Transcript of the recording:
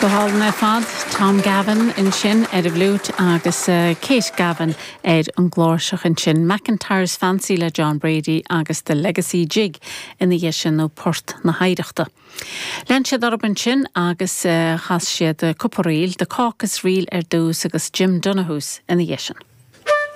Go hálainn ar fad, Tom Gavin ansin ar an bhfliúit agus Kate Gavin ar an gcláirseach ansin. McIntyre's Fancy le John Brady agus The Legacy Jig ina dhiaidh sin nó Port na hOidhreachta. Lean siad orthu ansin agus chas siad cúpla ríl, The Caucus Reel ar dtús agus Jim Donohue's ina dhiaidh sin.